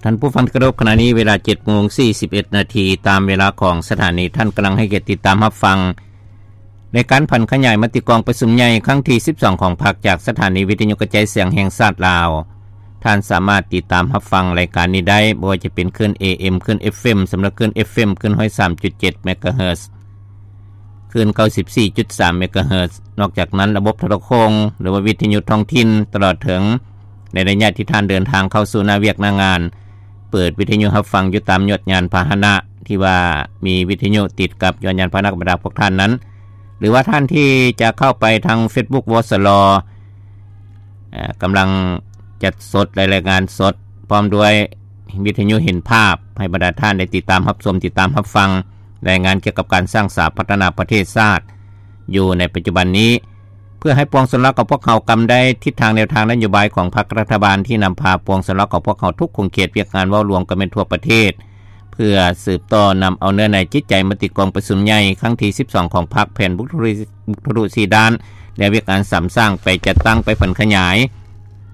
ທ່ານຜູ້ຟັງທີ່ເຄົາລົບ, ຂະນະນີ້ເວລາເຈັດໂມງສີ່ສິບເອັດນາທີ ຕາມເວລາຂອງສະຖານີ. ທ່ານກຳລັງໃຫ້ກຽດຕິດຕາມຮັບຟັງ ໃນການຜັນຂະຫຍາຍມະຕິກອງປະຊຸມໃຫຍ່ຄັ້ງທີສິບສອງຂອງພັກ ຈາກສະຖານີວິທະຍຸກະຈາຍສຽງແຫ່ງຊາດລາວ. ທ່ານສາມາດຕິດຕາມຮັບຟັງລາຍການນີ້ໄດ້ ບໍ່ວ່າຈະເປັນຄື້ນ ເອເອັມ, ຄື້ນ ເອັຟເອັມ ສຳລັບຄື້ນ ເອຟເອັມ ຄື້ນຮ້ອຍສາມຈຸດເຈັດເມກະເຮີດ, ຄື້ນເກົ້າສິບສີ່ຈຸດສາມເມກະເຮີດ. ນອກຈາກນັ້ນ, ລະບົບໂທລະໂຄ່ງ ຫຼືວ່າວິທະຍຸທ້ອງຖິ່ນ ຕະຫຼອດເຖິງໃນໄລຍະທີ່ທ່ານເດີນທາງເຂົ້າສູ່ໜ້າວຽກໜ້າງານ, ເປີດວິທະຍຸຮັບຟັງຢູ່ຕາມຍອດຍານພາຫະນະທີ່ວ່າມີວິທະຍຸຕິດກັບຍອດຍານພາຫະນະຂອງບັນດາພວກທ່ານນັ້ນ, ຫຼືວ່າທ່ານທີ່ຈະເຂົ້າໄປທາງເຟສບຸກ ວສລ ເອີ່ ກຳລັງຈັດສົດ ແລະ ລາຍງານສົດ ພ້ອມດ້ວຍວິທະຍຸເຫັນພາບ ໃຫ້ບັນດາທ່ານໄດ້ຕິດຕາມຮັບຊົມ, ຕິດຕາມຮັບຟັງລາຍງານກ່ຽວກັບການສ້າງສາພັດທະນາປະເທດຊາດຢູ່ໃນປັດຈຸບັນນີ້, ເພື່ອໃຫ້ປວງຊົນລາວຂອງພວກເຮົາກຳໄດ້ທິດທາງແນວທາງນະໂຍບາຍຂອງພັກລັດຖະບານ ທີ່ນຳພາປວງຊົນລາວຂອງພວກເຮົາທຸກຂົງເຂດວຽກງານເວົ້າລວມກັນແມ່ນທົ່ວປະເທດ, ເພື່ອສືບຕໍ່ນຳເອົາເນື້ອໃນຈິດໃຈມະຕິກອງປະຊຸມໃຫຍ່ຄັ້ງທີສິບສອງຂອງພັກ, ແຜນບຸກທຸລິ ບຸກທຸລຸສີ່ດ້ານ ແລະ ວຽກງານສຳສ້າງໄປຈັດຕັ້ງໄປຜັນຂະຫຍາຍ.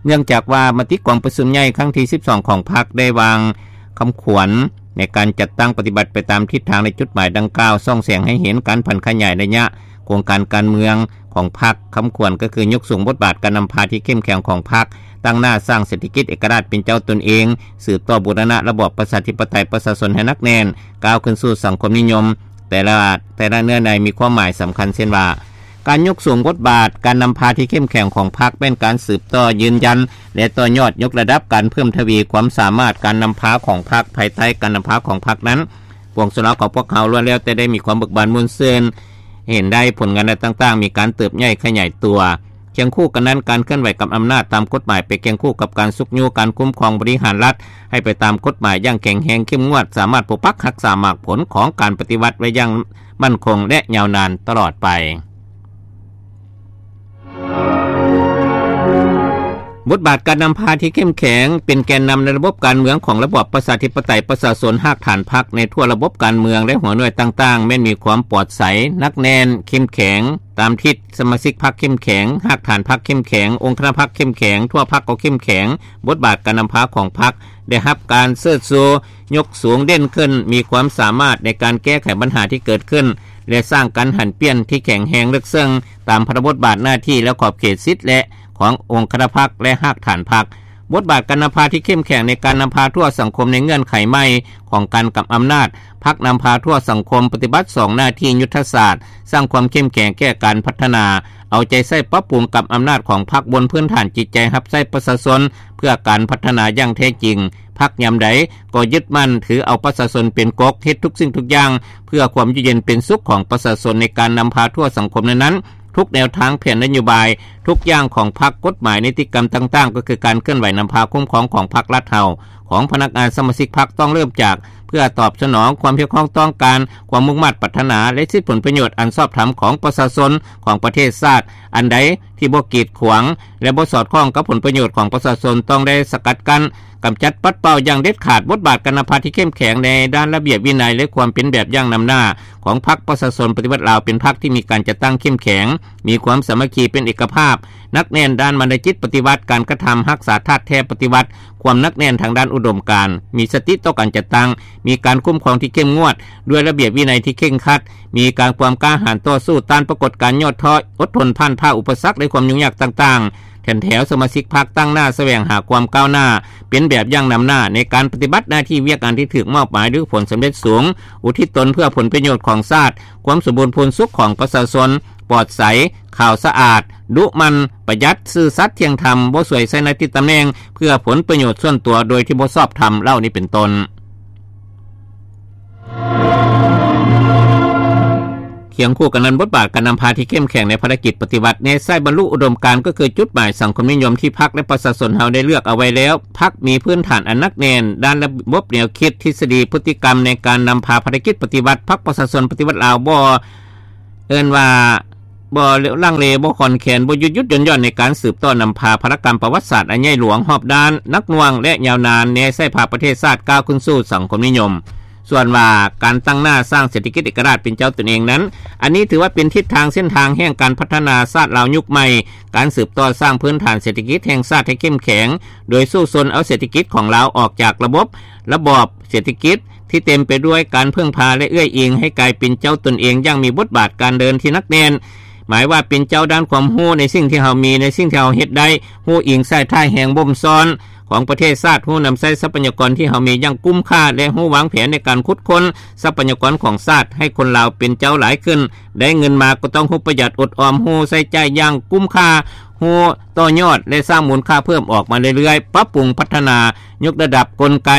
ເນື່ອງຈາກວ່າມະຕິກອງປະຊຸມໃຫຍ່ຄັ້ງທີສິບສອງຂອງພັກໄດ້ວາງຄຳຂວັນໃນການຈັດຕັ້ງປະຕິບັດໄປຕາມທິດທາງ ແລະ ຈຸດໝາຍດັ່ງກ່າວ, ສ່ອງແສງໃຫ້ເຫັນການຜັນຂະຫຍາຍໄລຍະໂຄງການການເມືອງຂອງພັກ. ຄຳຂວັນກໍຄືຍົກສູງບົດບາດການນຳພາທີ່ເຂັ້ມແຂງຂອງພັກ, ຕັ້ງໜ້າສ້າງເສດຖະກິດເອກະລາດເປັນເຈົ້າຕົນເອງ, ສືບຕໍ່ບູລະນະລະບອບປະຊາທິປະໄຕປະຊາຊົນໃຫ້ໜັກແໜ້ນ, ກ້າວຂຶ້ນສູ່ສັງຄົມນິຍົມ. ແຕ່ລະ ແຕ່ລະເນື້ອໃນມີຄວາມໝາຍສຳຄັນ ເຊັ່ນວ່າ ການຍົກສູງບົດບາດການນຳພາທີ່ເຂັ້ມແຂງຂອງພັກ ແມ່ນການສືບຕໍ່ຢືນຢັນ ແລະ ຕໍ່ຍອດຍົກລະດັບການເພີ່ມທະວີຄວາມສາມາດການນຳພາຂອງພັກ. ພາຍໃຕ້ການນຳພາຂອງພັກນັ້ນ, ປວງຊົນລາວຂອງພວກເຮົາລ້ວນແລ້ວແຕ່ໄດ້ມີຄວາມເບີກບານມ່ວນຊື່ນ, ເຫັນໄດ້ຜົນງານດ້ານຕ່າງໆ ມີການເຕີບໃຫຍ່ຂະຫຍາຍຕົວ. ຄຽງຄູ່ກັນນັ້ນ, ການເຄື່ອນໄຫວກັບອຳນາດຕາມກົດໝາຍໄປຄຽງຄູ່ກັບການຊຸກຍູ້ການຄຸ້ມຄອງບໍລິຫານລັດ ໃຫ້ໄປຕາມກົດໝາຍຢ່າງແຂງແຮງເຂັ້ມງວດ, ສາມາດປົກປັກຮັກສາໝາກຜົນຂອງການປະຕິວັດໄວ້ຢ່າງໝັ້ນຄົງ ແລະ ຍາວນານຕະຫຼອດໄປ. ບົດບາດການນຳພາທີ່ເຂັ້ມແຂງ ເປັນແກນນຳໃນລະບົບການເມືອງຂອງລະບອບປະຊາທິປະໄຕປະຊາຊົນ, ຮາກຖານພັກໃນທົ່ວລະບົບການເມືອງ ແລະ ຫົວໜ່ວຍຕ່າງໆ ແມ່ນມີຄວາມປອດໃສ, ໜັກແໜ້ນ, ເຂັ້ມແຂງ. ຕາມທິດ, ສະມາຊິກພັກເຂັ້ມແຂງ, ຮາກຖານພັກເຂັ້ມແຂງ, ອົງຄະນະພັກເຂັ້ມແຂງ, ທົ່ວພັກກໍເຂັ້ມແຂງ, ບົດບາດການນຳພາຂອງພັກໄດ້ຮັບການເຊີດຊູ, ຍົກສູງເດັ່ນຂຶ້ນ, ມີຄວາມສາມາດໃນການແກ້ໄຂບັນຫາທີ່ເກີດຂຶ້ນ ແລະ ສ້າງການຫັນປ່ຽນທີ່ແຂງແຮງເລິກເຊິ່ງ ຕາມພາລະບົດບາດໜ້າທີ່ ແລະ ຂອບເຂດສິດ ແລະ ຂອງອົງຄະນະພັກ ແລະ ຮາກຖານພັກ. ບົດບາດການນຳພາທີ່ເຂັ້ມແຂງໃນການນຳພາທົ່ວສັງຄົມໃນເງື່ອນໄຂໃໝ່ຂອງການກຳອຳນາດ, ພັກນຳພາທົ່ວສັງຄົມປະຕິບັດສອງໜ້າທີ່ຍຸດທະສາດ, ສ້າງຄວາມເຂັ້ມແຂງແກ່ການພັດທະນາ, ເອົາໃຈໃສ່ປັບປຸງກຳອຳນາດຂອງພັກບົນພື້ນຖານຈິດໃຈຮັບໃຊ້ປະຊາຊົນເພື່ອການພັດທະນາຢ່າງແທ້ຈິງ. ພັກຍາມໃດກໍຍຶດໝັ້ນຖືເອົາປະຊາຊົນເປັນກົກ, ເຮັດທຸກສິ່ງທຸກຢ່າງເພື່ອຄວາມຢູ່ເຢັນເປັນສຸກຂອງປະຊາຊົນ. ໃນການນຳພາທົ່ວສັງຄົມນັ້ນໆ, ທຸກແນວທາງແຜນນະໂຍບາຍ ທຸກຢ່າງຂອງພັກ, ກົດໝາຍ, ນິຕິກຳຕ່າງໆ ກໍຄືການເຄື່ອນໄຫວນຳພາຄຸ້ມຄອງຂອງພັກລັດເຮົາ, ຂອງພະນັກງານສະມາຊິກພັກ ຕ້ອງເລີ່ມຈາກ ເພື່ອຕອບສະໜອງຄວາມຮຽກຮ້ອງຕ້ອງການ, ຄວາມມຸ່ງມາດປາດຖະໜາ ແລະ ສິດຜົນປະໂຫຍດອັນຊອບທຳຂອງປະຊາຊົນຂອງປະເທດຊາດ. ອັນໃດທີ່ບໍ່ກີດຂວາງ ແລະ ບໍ່ສອດຄ່ອງກັບຜົນປະໂຫຍດຂອງປະຊາຊົນ ຕ້ອງໄດ້ສະກັດກັ້ນ, ກຳຈັດປັດເປົ່າຢ່າງເດັດຂາດ. ບົດບາດການນຳພາທີ່ເຂັ້ມແຂງໃນດ້ານລະບຽບວິໄນ ແລະ ຄວາມເປັນແບບຢ່າງນຳໜ້າຂອງພັກປະຊາຊົນປະຕິວັດລາວ ເປັນພັກທີ່ມີການຈັດຕັ້ງເຂັ້ມແຂງ, ມີຄວາມສາມັກຄີເປັນເອກະພາບ, ໜັກແໜ້ນດ້ານມານະຈິດປະຕິວັດ, ການກະທຳຮັກສາທາດແທ້ປະຕິວັດ, ຄວາມໜັກແໜ້ນທາງດ້ານອຸດົມການ, ມີສະຕິຕໍ່ການຈັດຕັ້ງ, ມີການຄຸ້ມຄອງທີ່ເຂັ້ມງວດ, ດ້ວຍລະບຽບວິໄນທີ່ເຄັ່ງຄັດ, ມີການຄວາມກ້າຫານຕໍ່ສູ້ຕ້ານປາກົດການຫຍໍ້ທໍ້, ອົດທົນຜ່ານຜ່າອຸປະສັກ ແລະ ຄວາມຫຍຸ້ງຍາກຕ່າງໆ. ແຖນແຖວສະມາຊິກພັກຕັ້ງໜ້າສະແຫວງຫາຄວາມກ້າວໜ້າ, ເປັນແບບຢ່າງນຳໜ້າໃນການປະຕິບັດໜ້າທີ່ວຽກງານທີ່ຖືກມອບໝາຍດ້ວຍຜົນສຳເລັດສູງ, ອຸທິດຕົນເພື່ອຜົນປະໂຫຍດຂອງຊາດ, ຄວາມສົມບູນພູນສຸກຂອງປະຊາຊົນ, ປອດໃສ, ຂາວສະອາດ, ດຸໝັ່ນ, ປະຢັດ, ຊື່ສັດ, ທ່ຽງທຳ, ບໍ່ສວຍໃຊ້ໜ້າທີ່ຕຳແໜ່ງເພື່ອຜົນປະໂຫຍດສ່ວນຕົວໂດຍທີ່ບໍ່ຊອບທຳ ເຫຼົ່ານີ້ເປັນຕົ້ນ. ຄຽງຄູ່ກັນນັ້ນ, ບົດບາດການນຳພາທີ່ເຂັ້ມແຂງໃນພາລະກິດປະຕິວັດ ແນໃສ່ບັນລຸອຸດົມການ ກໍຄືຈຸດໝາຍສັງຄົມນິຍົມທີ່ພັກ ແລະ ປະຊາຊົນເຮົາໄດ້ເລືອກເອົາໄວ້ແລ້ວ. ພັກມີພື້ນຖານອັນໜັກແໜ້ນດ້ານລະບົບແນວຄິດ, ທິດສະດີ, ພຶດຕິກຳໃນການນຳພາພາລະກິດປະຕິວັດ. ພັກປະຊາຊົນປະຕິວັດລາວບໍ່ ເອີ້ນວ່າບໍ່ລັງເລ, ບໍ່ຄອນແຄນ, ບໍ່ຢຸດຢຸດຢ່ອນຢ່ອນໃນການສືບຕໍ່ນຳພາພາລະກຳປະຫວັດສາດອັນໃຫຍ່ຫຼວງ, ຮອບດ້ານ, ໜັກໜ່ວງ ແລະ ຍາວນານ, ແນໃສ່ພາປະເທດຊາດກ້າວຂຶ້ນສູ່ສັງຄົມນິຍົມ. ສ່ວນວ່າການຕັ້ງໜ້າສ້າງເສດຖະກິດເອກະລາດເປັນເຈົ້າຕົນເອງນັ້ນ, ອັນນີ້ຖືວ່າເປັນທິດທາງເສັ້ນທາງແຫ່ງການພັດທະນາຊາດລາວຍຸກໃໝ່, ການສືບຕໍ່ສ້າງພື້ນຖານເສດຖະກິດແຫ່ງຊາດໃຫ້ເຂັ້ມແຂງ, ໂດຍສູ້ຊົນເອົາເສດຖະກິດຂອງລາວອອກຈາກລະບົບ ລະບອບເສດຖະກິດທີ່ເຕັມໄປດ້ວຍການເພິ່ງພາ ແລະ ເອື້ອຍອີງ ໃຫ້ກາຍເປັນເຈົ້າຕົນເອງຢ່າງມີບົດບາດການເດີນທີ່ໜັກແໜ້ນ. ໝາຍວ່າເປັນເຈົ້າດ້ານຄວາມຮູ້ໃນສິ່ງທີ່ເຮົາມີ, ໃນສິ່ງທີ່ເຮົາເຮັດໄດ້, ຮູ້ອີງສາຍທ້າຍແຮງບົ່ມຊ້ອນຂອງປະເທດຊາດ, ຮູ້ນຳໃຊ້ຊັບພະຍາກອນທີ່ເຮົາມີຢ່າງກຸ້ມຄ່າ ແລະ ຮູ້ວາງແຜນໃນການຂຸດຄົ້ນຊັບພະຍາກອນຂອງຊາດໃຫ້ຄົນລາວເປັນເຈົ້າຫຼາຍຂຶ້ນ. ໄດ້ເງິນມາກໍຕ້ອງຮູ້ປະຢັດອົດອອມ, ຮູ້ໃຊ້ຈ່າຍຢ່າງກຸ້ມຄ່າ, ຮູ້ຕໍ່ຍອດ ແລະ ສ້າງມູນຄ່າເພີ່ມອອກມາເລື້ອຍໆ, ປັບປຸງພັດທະນາ, ຍົກລະດັບກົນໄກ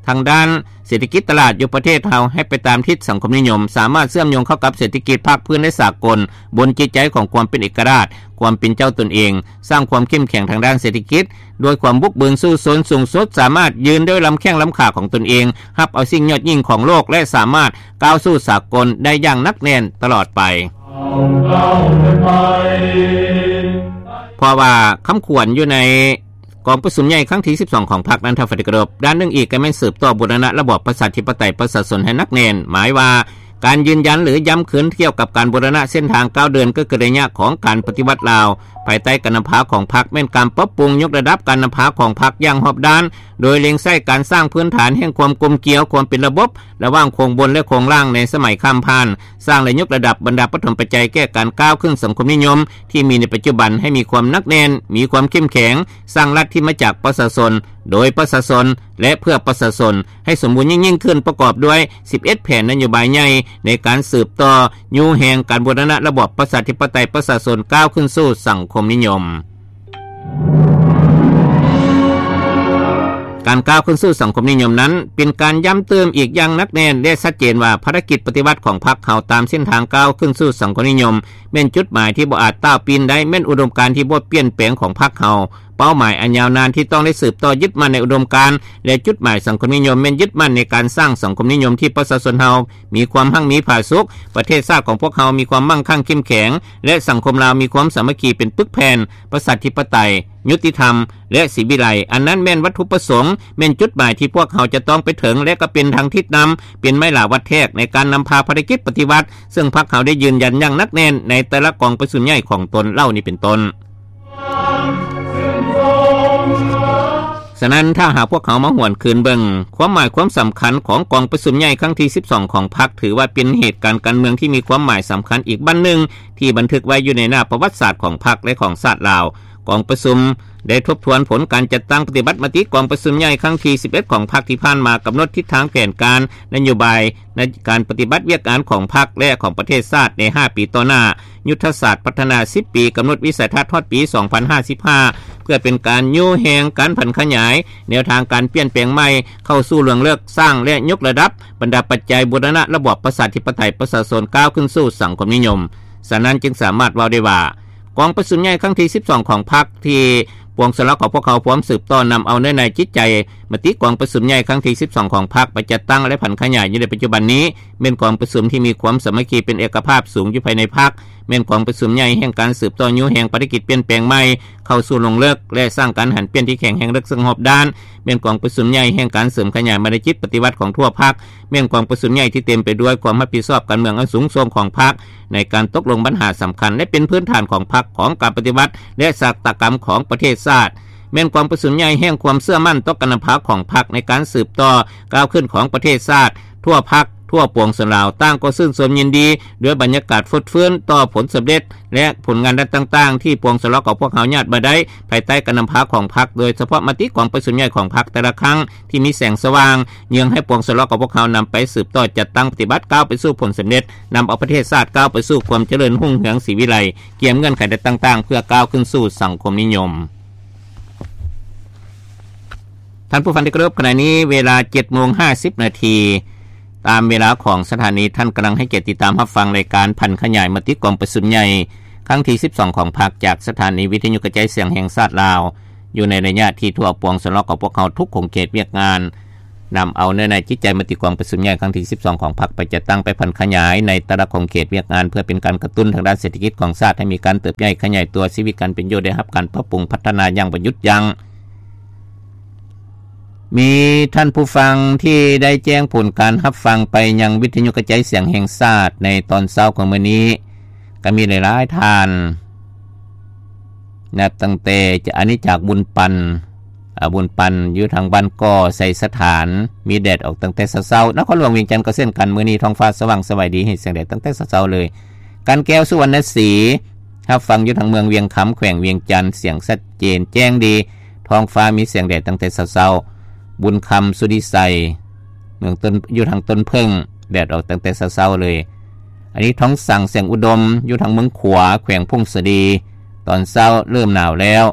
ທາງດ້ານເສດຖະກິດຕະຫຼາດຢູ່ປະເທດເຮົາໃຫ້ໄປຕາມທິດສັງຄົມນິຍົມ, ສາມາດເຊື່ອມໂຍງເຂົ້າກັບເສດຖະກິດພາກພື້ນ ແລະ ສາກົນ, ບົນຈິດໃຈຂອງຄວາມເປັນເອກະລາດ, ຄວາມເປັນເຈົ້າຕົນເອງ, ສ້າງຄວາມເຂັ້ມແຂງທາງດ້ານເສດຖະກິດ ດ້ວຍຄວາມບຸກບືນສູ້ຊົນສູງສຸດ, ສາມາດຢືນດ້ວຍລຳແຂ້ງລຳຂາຂອງຕົນເອງ, ຮັບເອົາສິ່ງຍອດຍິ່ງຂອງໂລກ ແລະ ສາມາດກ້າວສູ່ສາກົນໄດ້ຢ່າງໜັກແໜ້ນຕະຫຼອດໄປ. ເພາະວ່າຄຳຂວັນຢູ່ໃນ ກອງປະຊຸມໃຫຍ່ຄັ້ງທີສິບສອງຂອງພັກນັ້ນ ທ່ານທີ່ເຄົາລົບ, ດ້ານໜຶ່ງອີກກໍແມ່ນສືບຕໍ່ບູລະນະລະບອບປະຊາທິປະໄຕປະຊາຊົນໃຫ້ໜັກແໜ້ນ, ໝາຍວ່າການຢືນຢັນ ຫຼື ຢ້ຳຄືນກ່ຽວກັບການບູລະນະເສັ້ນທາງກ້າວເດີນ ກໍຄືໄລຍະຂອງການປະຕິວັດລາວ ພາຍໃຕ້ການນຳພາຂອງພັກ ແມ່ນການປັບປຸງຍົກລະດັບການນຳພາຂອງພັກຢ່າງຮອບດ້ານ, ໂດຍເລັງໃສ່ການສ້າງພື້ນຖານແຫ່ງຄວາມກົມກຽວ, ຄວາມເປັນລະບົບ ລະຫວ່າງໂຄງບົນ ແລະ ໂຄງລ່າງໃນສະໄໝຂ້າມຜ່ານ, ສ້າງ ແລະ ຍົກລະດັບບັນດາປະຖົມປັດໄຈແກ່ການກ້າວຂຶ້ນສັງຄົມນິຍົມທີ່ມີໃນປັດຈຸບັນໃຫ້ມີຄວາມໜັກແໜ້ນ, ມີຄວາມເຂັ້ມແຂງ, ສ້າງລັດທີ່ມາຈາກປະຊາຊົນ, ໂດຍປະຊາຊົນ ແລະ ເພື່ອປະຊາຊົນ ໃຫ້ສົມບູນຍິ່ງໆຂຶ້ນ, ປະກອບດ້ວຍສິບເອັດແຜນນະໂຍບາຍໃຫຍ່ໃນການສືບຕໍ່ຍູ້ແຮງການບູລະນະລະບອບປະຊາທິປະໄຕປະຊາຊົນ ກ້າວຂຶ້ນສູ່ສັງຄົມນິຍົມ. ການກ້າວຂຶ້ນສູ່ສັງຄົມນິຍົມນັ້ນ ເປັນການຢ້ຳເຕີມອີກຢ່າງໜັກແໜ້ນ ແລະ ຊັດເຈນວ່າ ພາລະກິດປະຕິວັດຂອງພັກເຮົາຕາມເສັ້ນທາງກ້າວຂຶ້ນສູ່ສັງຄົມນິຍົມ ແມ່ນຈຸດໝາຍທີ່ບໍ່ອາດຕ້າວປີນໄດ້, ແມ່ນອຸດົມການທີ່ບໍ່ປ່ຽນແປງຂອງພັກເຮົາ, ເປົ້າໝາຍອັນຍາວນານທີ່ຕ້ອງໄດ້ສືບຕໍ່ຍຶດໝັ້ນໃນອຸດົມການ ແລະ ຈຸດໝາຍສັງຄົມນິຍົມ ແມ່ນຍຶດໝັ້ນໃນການສ້າງສັງຄົມນິຍົມທີ່ປະຊາຊົນເຮົາມີຄວາມຮັ່ງມີຜາສຸກ, ປະເທດຊາດຂອງພວກເຮົາມີຄວາມມັ່ງຄັ່ງເຂັ້ມແຂງ ແລະ ສັງຄົມລາວມີຄວາມສາມັກຄີເປັນປຶກແຜ່ນ, ປະຊາທິປະໄຕ, ຍຸຕິທຳ ແລະ ສີວິໄລ. ອັນນັ້ນແມ່ນວັດຖຸປະສົງ, ແມ່ນຈຸດໝາຍທີ່ພວກເຮົາຈະຕ້ອງໄປເຖິງ ແລະ ກໍເປັນທາງທິດນຳ, ເປັນໄມ້ຫຼາວັດແທກໃນການນຳພາພາລະກິດປະຕິວັດ, ເຊິ່ງພັກເຮົາໄດ້ຢືນຢັນຢ່າງໜັກແໜ້ນໃນແຕ່ລະກອງປະຊຸມໃຫຍ່ຂອງຕົນເຫຼົ່ານີ້ເປັນຕົ້ນ. ສະນັ້ນ ຖ້າຫາກພວກເຮົາມາຫວນຄືນເບິ່ງ ຄວາມໝາຍຄວາມສຳຄັນຂອງກອງປະຊຸມໃຫຍ່ຄັ້ງທີສິບສອງຂອງພັກ ຖືວ່າເປັນເຫດການການເມືອງທີ່ມີຄວາມໝາຍສຳຄັນອີກບັ້ນໜຶ່ງ ທີ່ບັນທຶກໄວ້ຢູ່ໃນໜ້າປະຫວັດສາດຂອງພັກ ແລະ ຂອງຊາດລາວ. ກອງປະຊຸມໄດ້ທົບທວນຜົນການຈັດຕັ້ງປະຕິບັດມະຕິກອງປະຊຸມໃຫຍ່ຄັ້ງທີສິບເອັດຂອງພັກທີ່ຜ່ານມາ, ກຳນົດທິດທາງແຜນການນະໂຍບາຍໃນການປະຕິບັດວຽກງານຂອງພັກ ແລະ ຂອງປະເທດຊາດໃນຫ້າປີຕໍ່ໜ້າ, ຍຸດທະສາດພັດທະນາສິບປີ, ກຳນົດວິໄສທັດຮອດປີສອງພັນຫ້າສິບຫ້າ ເພື່ອເປັນການຍູ້ແຮງການຜັນຂະຫຍາຍແນວທາງການປ່ຽນແປງໃໝ່ເຂົ້າສູ່ລວງເລິກ, ສ້າງ ແລະ ຍົກລະດັບບັນດາປັດໄຈບູລະນະລະບອບປະຊາທິປະໄຕປະຊາຊົນ ກ້າວຂຶ້ນສູ່ສັງຄົມນິຍົມ. ສະນັ້ນຈຶ່ງສາມາດເວົ້າໄດ້ວ່າ ກອງປະຊຸມໃຫຍ່ຄັ້ງທີສິບສອງຂອງພັກ ທີ່ປວງຊົນລາວຂອງພວກເຮົາພວມສືບຕໍ່ນຳເອົາເນື້ອໃນຈິດໃຈມະຕິກອງປະຊຸມໃຫຍ່ຄັ້ງທີສິບສອງຂອງພັກໄປຈັດຕັ້ງ ແລະ ຜັນຂະຫຍາຍຢູ່ໃນປັດຈຸບັນນີ້ ແມ່ນກອງປະຊຸມທີ່ມີຄວາມສາມັກຄີເປັນເອກະພາບສູງຢູ່ພາຍໃນພັກ, ແມ່ນກອງປະຊຸມໃຫຍ່ແຫ່ງການສືບຕໍ່ຍູ້ແຮງພາລະກິດປ່ຽນແປງໃໝ່ເຂົ້າສູ່ລວງເລິກ ແລະ ສ້າງການຫັນປ່ຽນທີ່ແຂງແຮງເລິກເຊິ່ງຮອບດ້ານ, ແມ່ນກອງປະຊຸມໃຫຍ່ແຫ່ງການເສີມຂະຫຍາຍມະນະຈິດປະຕິວັດຂອງທົ່ວພັກ, ແມ່ນກອງປະຊຸມໃຫຍ່ທີ່ເຕັມໄປດ້ວຍຄວາມຮັບຜິດຊອບການເມືອງອັນສູງສົ່ງຂອງພັກ ໃນການຕົກລົງບັນຫາສຳຄັນ ແລະ ເປັນພື້ນຖານຂອງພັກ, ຂອງການປະຕິວັດ ແລະ ຊາຕາກຳຂອງປະເທດຊາດ, ແມ່ນກອງປະຊຸມໃຫຍ່ແຫ່ງຄວາມເຊື່ອໝັ້ນຕໍ່ການນຳພາຂອງພັກໃນການສືບຕໍ່ກ້າວຂຶ້ນຂອງປະເທດຊາດ, ທົ່ວພັກ, ທົ່ວປວງຊົນລາວ ຕ່າງກໍຊື່ນຊົມຍິນດີດ້ວຍບັນຍາກາດຟົດຟື້ນຕໍ່ຜົນສຳເລັດ ແລະ ຜົນງານດ້ານຕ່າງໆ ທີ່ປວງຊົນລາວຂອງພວກເຮົາຍາດມາໄດ້ ພາຍໃຕ້ການນຳພາຂອງພັກ, ໂດຍສະເພາະມະຕິກອງປະຊຸມໃຫຍ່ຂອງພັກແຕ່ລະຄັ້ງ ທີ່ມີແສງສະຫວ່າງ ເຍືອງໃຫ້ປວງຊົນລາວຂອງພວກເຮົານຳໄປສືບຕໍ່ຈັດຕັ້ງປະຕິບັດ ກ້າວໄປສູ່ຜົນສຳເລັດ, ນຳເອົາປະເທດຊາດກ້າວໄປສູ່ຄວາມຈະເລີນຮຸ່ງເຮືອງສີວິໄລ, ກຽມເງື່ອນໄຂໃດຕ່າງໆ ເພື່ອກ້າວຂຶ້ນສູ່ສັງຄົມນິຍົມ. ທ່ານຜູ້ຟັງທີ່ເຄົາລົບ, ຂະນະນີ້ເວລາເຈັດໂມງຫ້າສິບນາທີ, ຕາມເວລາຂອງສະຖານີ, ທ່ານກຳລັງໃຫ້ກຽດຕິດຕາມຮັບຟັງລາຍການຜັນຂະຫຍາຍມະຕິກອງປະຊຸມໃຫຍ່ຄັ້ງທີສິບສອງຂອງພັກ ຈາກສະຖານີວິທະຍຸກະຈາຍສຽງແຫ່ງຊາດລາວ. ຢູ່ໃນໄລຍະທີ່ທົ່ວປວງຊົນລາວຂອງພວກເຮົາທຸກຂົງເຂດວຽກງານ ນຳເອົາເນື້ອໃນຈິດໃຈມະຕິກອງປະຊຸມໃຫຍ່ຄັ້ງທີສິບສອງຂອງພັກໄປຈັດຕັ້ງ, ໄປຜັນຂະຫຍາຍໃນແຕ່ລະຂົງເຂດວຽກງານ ເພື່ອເປັນການກະຕຸ້ນທາງດ້ານເສດຖະກິດຂອງຊາດໃຫ້ມີການເຕີບໃຫຍ່ຂະຫຍາຍຕົວ, ຊີວິດການເປັນຢູ່ໄດ້ຮັບການປັບປຸງພັດທະນາຢ່າງບໍ່ຢຸດຢັ້ງ. ມີທ່ານຜູ້ຟັງທີ່ໄດ້ແຈ້ງຜົນການຮັບຟັງໄປຍັງວິທະຍຸກະຈາຍສຽງແຫ່ງຊາດໃນຕອນເຊົ້າຂອງມື້ນີ້ ກໍມີຫຼາຍໆທ່ານ ນັບຕັ້ງແຕ່ ຈະ ອັນນີ້ຈາກບຸນປັນ ອາ ບຸນປັນ ຢູ່ທາງບ້ານກໍໄຊສະຖານ ມີແດດອອກຕັ້ງແຕ່ເຊົ້າໆ. ນະຄອນຫຼວງວຽງຈັນກໍເຊັ່ນກັນ ມື້ນີ້ທ້ອງຟ້າສະຫວ່າງສະຫວາຍດີ ເຫັນແສງແດດຕັ້ງແຕ່ເຊົ້າໆເລີຍ. ກັນແກ້ວ ສຸວັນນະສີ ຮັບຟັງຢູ່ທາງເມືອງວຽງຄຳ ແຂວງວຽງຈັນ ສຽງຊັດເຈນແຈ້ງດີ ທ້ອງຟ້າມີແສງແດດຕັ້ງແຕ່ເຊົ້າໆ. ບຸນຄຳ ສຸລິໄຊ ເມືອງຕົ້ນ ຢູ່ທາງຕົ້ນເຜິ້ງ ແດດອອກຕັ້ງແຕ່ເຊົ້າໆເລີຍ. ອັນນີ້ທອງສັງ ແສງອຸດົມ ຢູ່ທາງເມືອງຂວາ ແຂວງຜົ້ງສາລີ ຕອນເຊົ້າເລີ່ມໜາວແລ້ວ.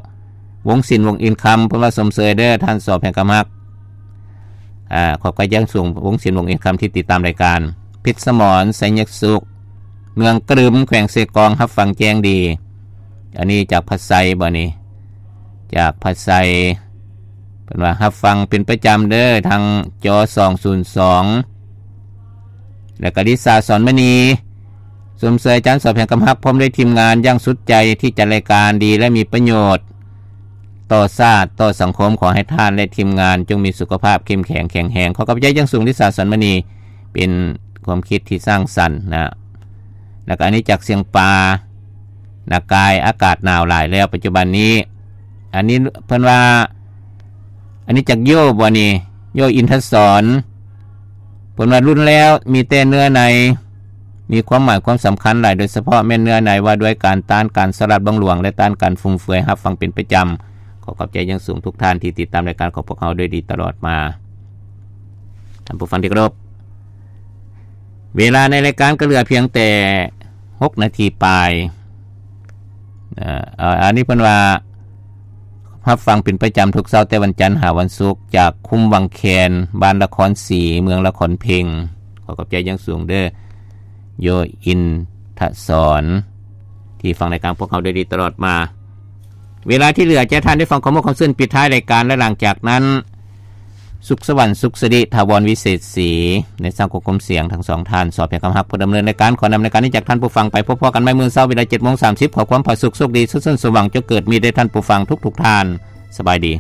ວົງສິນ ວົງອິນຄຳ ເພິ່ນວ່າຊົມເຊີຍເດີ້ ທ່ານ ສ ແພງຄຳຮັກ. ອາ ຂອບໃຈຢ່າງສູງ ວົງສິນ ວົງອິນຄຳ ທີ່ຕິດຕາມລາຍການ. ພິດສະໝອນ ໄຊຍະສຸກ ເມືອງກະລຶມ ແຂວງເຊກອງ ຮັບຟັງແຈ້ງດີ. ອັນນີ້ຈາກພະໄຊບໍນີ້? ຈາກພະໄຊ ເພິ່ນວ່າຮັບຟັງເປັນປະຈຳເດີ້ ທາງ ຈ ສອງສູນສອງ. ແລ້ວກໍລິສາ ສອນມະນີ ຊົມເຊີຍອາຈານ ສອບແຫ່ງຄຳຮັກ ພ້ອມດ້ວຍທີມງານຢ່າງສຸດໃຈທີ່ຈັດລາຍການດີ ແລະ ມີປະໂຫຍດຕໍ່ຊາດ ຕໍ່ສັງຄົມ. ຂໍໃຫ້ທ່ານ ແລະ ທີມງານຈົ່ງມີສຸຂະພາບເຂັ້ມແຂງແຂງແຮງ. ຂໍຂອບໃຈຢ່າງສູງ ລິສາ ສອນມະນີ ເປັນຄວາມຄິດທີ່ສ້າງສັນນະ. ແລ້ວກໍອັນນີ້ຈາກຊຽງປາ ນາກາຍ ອາກາດໜາວຫຼາຍແລ້ວປັດຈຸບັນນີ້. ອັນນີ້ເພິ່ນວ່າ ອັນນີ້ຈາກໂຍບໍນີ້? ໂຍ ອິນທະສອນ ເພິ່ນວ່າລຸ້ນແລ້ວມີແຕ່ເນື້ອໃນ ມີຄວາມໝາຍຄວາມສຳຄັນຫຼາຍ ໂດຍສະເພາະແມ່ນເນື້ອໃນວ່າດ້ວຍການຕ້ານການສະຫຼາດບັງຫຼວງ ແລະ ຕ້ານການຟຸມເຟືອຍ. ຮັບຟັງເປັນປະຈຳ. ຂໍຂອບໃຈຢ່າງສູງທຸກທ່ານທີ່ຕິດຕາມລາຍການຂອງພວກເຮົາໂດຍດີຕະຫຼອດມາ. ທ່ານຜູ້ຟັງທີ່ເຄົາລົບ, ເວລາໃນລາຍການກໍເຫຼືອພຽງແຕ່ຫົກນາທີປາຍ. ເອີ ອັນນີ້ເພິ່ນວ່າ ຮັບຟັງເປັນປະຈຳທຸກເຊົ້າແຕ່ວັນຈັນຫາວັນສຸກ ຈາກຄຸ້ມວັງແຄນ ບ້ານລະຄອນສີ ເມືອງລະຄອນເພັງ. ຂໍຂອບໃຈຢ່າງສູງເດີ້ ໂຍ ອິນທະສອນ ທີ່ຟັງລາຍການພວກເຮົາໂດຍດີຕະຫຼອດມາ. ເວລາທີ່ເຫຼືອຈະໃຫ້ທ່ານໄດ້ຟັງຄວາມມ່ວນຄວາມຊື່ນປິດທ້າຍລາຍການ ແລະ ຫຼັງຈາກນັ້ນ ສຸກສະຫວັນ ສຸກສິລິ ຖາວອນ ວິເສດສີ ໃນສາງຄວບຄຸມສຽງທັງສອງທ່ານ ສອບແພງຄຳຮັກ ຜູ້ດຳເນີນລາຍການ. ຂໍນຳລາຍການນີ້ຈາກທ່ານຜູ້ຟັງໄປ. ພົບພໍ້ກັນໃໝ່ມື້ເຊົ້າເວລາເຈັດໂມງສາມສິບ. ຂໍຄວາມຜາສຸກ ໂຊກດີ ສຸກສັນ ສົມຫວັງ ຈົ່ງເກີດມີແດ່ທ່ານຜູ້ຟັງທຸກໆທ່ານ. ສະບາຍດີ.